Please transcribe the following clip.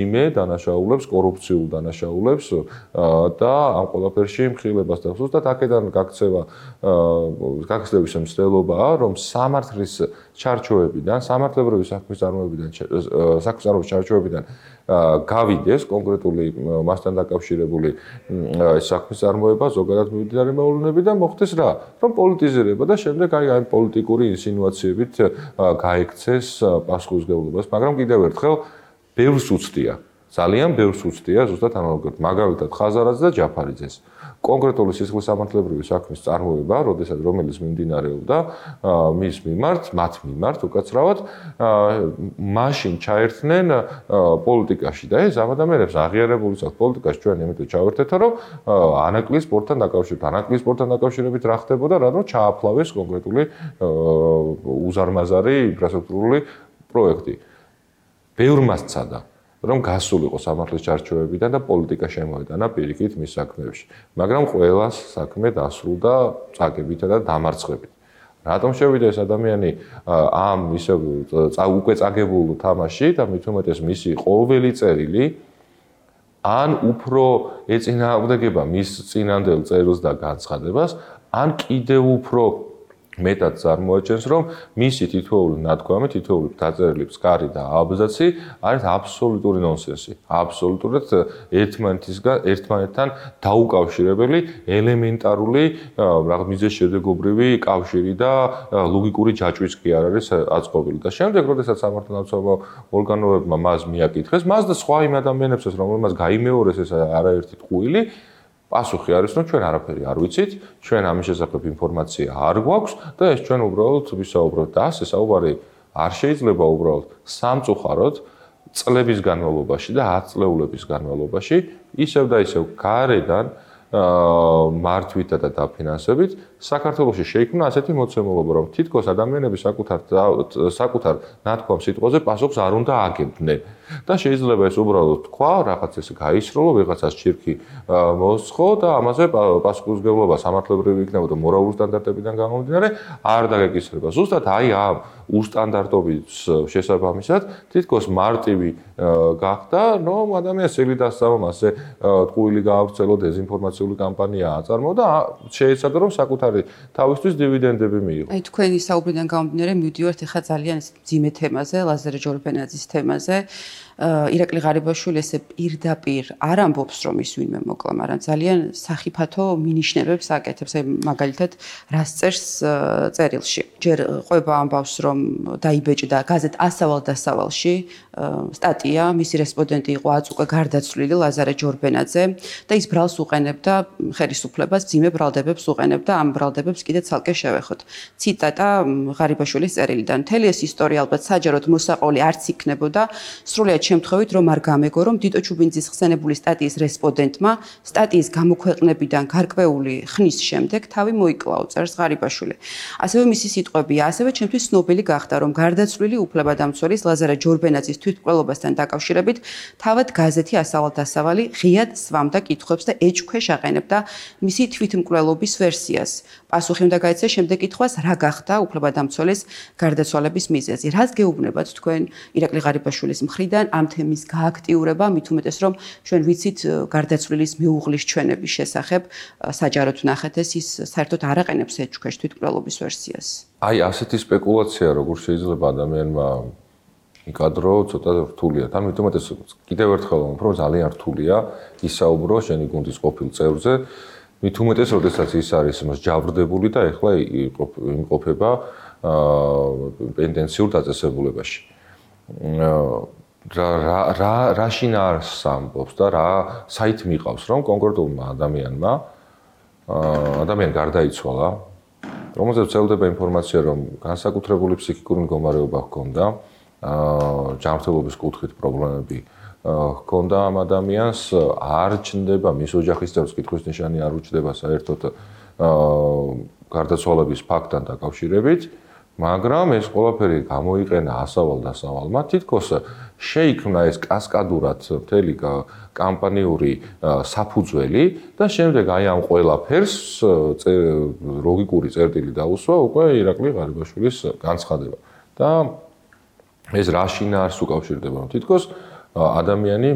იმე დანაშაულებს, კორუფციულ დანაშაულებს და ამ ყველაფერში მხილებას და ზუსტად აქედან გაქცევის მცდელობაა, რომ სამართლის ჩარჩოებიდან, სამართლებრივი საქმის ჩარჩოებიდან გავიდეს კონკრეტული მასთან დაკავშირებული საქმის წარმოება, ზოგადად მიმდინარე მოვლენები და მოხდეს რა, რომ პოლიტიზირება და შემდეგ აი პოლიტიკური ინსინუაციებით გაექცეს პასუხისმგებლობას, მაგრამ კიდევ ერთხელ ბევრს უცდია, ძალიან ბევრს უცდია ზუსტად ანალოგიურად, მაგალითად ხაზარაძე და ჯაფარიძეს. კონკრეტული სისხლის სამართლებრივი საქმის წარმოება, რომელიც მიმდინარეობდა მათ მიმართ უკაცრავად, მაშინ ჩაერთნენ პოლიტიკაში და ეს ამ ადამიანებს აღიარებული აქვს პოლიტიკაში ჩვენ იმიტომ ჩავერთეთო, რომ ანაკლიის სპორტთან დაკავშირებით რა ხდებოდა, რადგან ჩააფლავეს კონკრეტული უზარმაზარი ინფრასტრუქტურული პროექტი. ბევრმა სცადა, რომ გასულიყო სამართლის ჩარჩოებიდან და პოლიტიკა შემოეტანა პირიქით მის საქმეებში. მაგრამ ყველას საქმე დასრულდა წაგებითა და დამარცხებით. რატომ შევიდა ეს ადამიანი ამ ისე უკვე წაგებულ თამაში და მით უმეტეს მისი ყოველი წერილი ან უფრო ეწინააღმდეგება მის წინანდელ წერილს და განცხადებას, ან კიდევ უფრო მეტად წარმოაჩენს, რომ მისი თითოეული ნათქვამი, თითოეული დაწერილი ფსკარი და აბზაცი არის აბსოლუტური ნონსენსი. აბსოლუტურად ერთმანეთთან დაუკავშირებელი ელემენტარული მიზეზშედეგობრივი კავშირი და ლოგიკური ჯაჭვიც კი არ არის აწყობილი. და შემდეგ, როდესაც სამართალდამცავ ორგანოებმა მას მიაკითხეს, მას და სხვა იმ ადამიანებსაც, რომელმაც გაიმეორეს ეს არაერთი ტყუილი, პასუხი არის, რომ ჩვენ არაფერი არ ვიცით, ჩვენ ამის შესახებ ინფორმაცია არ გვაქვს და ეს ჩვენ უბრალოდ ვისაუბროთ და ასე საუბარი არ შეიძლება უბრალოდ სამწუხაროდ წლების განმავლობაში და 10 წლეულების განმავლობაში ისევ და ისევ გარედან მართვითა და დაფინანსებით საქართველოში შეიქმნა ასეთი მოცემულობა, რომ თითქოს ადამიანები საკუთარ ნათქვამ სიტყვაზე პასუხს არ უნდა აგებდნენ. და შეიძლება ეს უბრალოდ თქვა, რაღაც ეს გაისროლო, ვიღაცას ჩირქი მოსცხო და ამაზე პასუხისმგებლობა სამართლებრივი იქნებოდა მორალური სტანდარტებიდან გამომდინარე, არ დაგეკისრება. ზუსტად აი ამ უსტანდარტობის შესაბამისად თითქოს მარტივი გახდა, რომ ადამიანს წილი დასწავა, მასზე ტყუილი გაავრცელო, დეზინფორმაციული კამპანია აწარმოო და შეეცადა, რომ საკუთარი თავისთვის დივიდენდები მიიღო. აი თქვენი საუბრიდან გამომდინარე მივდივართ ახლა ძალიან მძიმე თემაზე, ლაზარე ჯორბენაძის თემაზე. ირაკლი ღარიბაშვილი ესე პირდაპირ არ ამბობს, რომ ის ვინმე მოკლა, მაგრამ ძალიან სახიფათო მინიშნებებს აკეთებს, აი მაგალითად რას წერს წერილში. ჯერ ყვება ამბავს, რომ დაიბეჭდა გაზეთ ასავალ-დასავალში სტატია, მისი რესპონდენტი იყო აწუყე გარდაცვლილი ლაზარე ჯორბენაძე და ის ბრალს უყენებდა ხელისუფლებას, მძიმე ბრალდებებს უყენებდა, ამ ბრალდებებს კიდე ცალკე შევეხოთ. ციტატა ღარიბაშვილის წერილიდან. მთელი ეს ისტორია ალბათ საჯაროდ მოსაყოლი არც იქნებოდა, სრულიად შემთხვევით, რომ არ გამეგო, რომ დიტო ჩუბინძის ხსენებული სტატიის რესპონდენტმა სტატიის გამოქვეყნებიდან გარკვეული ხნის შემდეგ თავი მოიკლაო, წერს ღარიბაშვილი. ასევე მისი სიტყვებია, ასევე ჩემთვის ცნობილი გახდა, რომ გარდაცვლილი უფლებადამცველის ლაზარე ჯორბენაძის თვითმკვლელობასთან დაკავშირებით თავად გაზეთი ასავალ-დასავალი ღიად სვამდა კითხვებს და ეჭქვეშ აყენებდა მისი თვითმკვლელობის ვერსიას. პასუხი უნდა გაეცა შემდეგ კითხვას, რა გახდა უფლებადამცველის გარდაცვალების მიზეზი. რას გეუბნებათ თქვენ ირაკლი ღარიბაშვილის მხრიდან ამ თემის გააქტიურება, მით უმეტეს რომ ჩვენ ვიცით გარდაცვლილის მეუღლის ჩვენების შესახებ, საჯაროდ ვნახეთ ის საერთოდ არ აყენებს ეჭქვეშ თვითმკვლელობის ვერსიას. აი ასეთი სპეკულაცია როგორ შეიძლება ადამიანმა იკადრო, ცოტა რთულია. მით უმეტეს კიდევ ერთხელ ვამბობ, ძალიან რთულია ისაუბრო შენი გუნდის ყოფილ წევრზე. მით უმეტეს, როდესაც ის არის მსჯავრდებული და ეხლა იმყოფება პენტენციურ დაწესებულებაში. რა შინაარსს ამბობს და რა საით მიყავს, რომ კონკრეტულმა ადამიანი გარდაიცვალა, რომელზეც ვრცელდება ინფორმაცია, რომ განსაკუთრებული ფსიქიკური მდგომარეობა ჰქონდა, ჯანმრთელობის კუთხით პრობლემები ჰქონდა ამ ადამიანს, არ ჩნდება მის ოჯახის წევრს კითხვის ნიშანი არ უჩნდება საერთოდ გარდაცვალების ფაქტთან დაკავშირებით, მაგრამ ეს ყველაფერი გამოიყენა ასავალ-დასავალმა, თითქოს შეიქმნა ეს კასკადურად მთელი კამპანიური საფუძველი და შემდეგ აი ამ ყველაფერს ლოგიკური წერტილი დაუსვა უკვე ირაკლი ღარიბაშვილის განცხადება. და ეს რა შინაარსს უკავშირდება, რომ თითქოს ადამიანი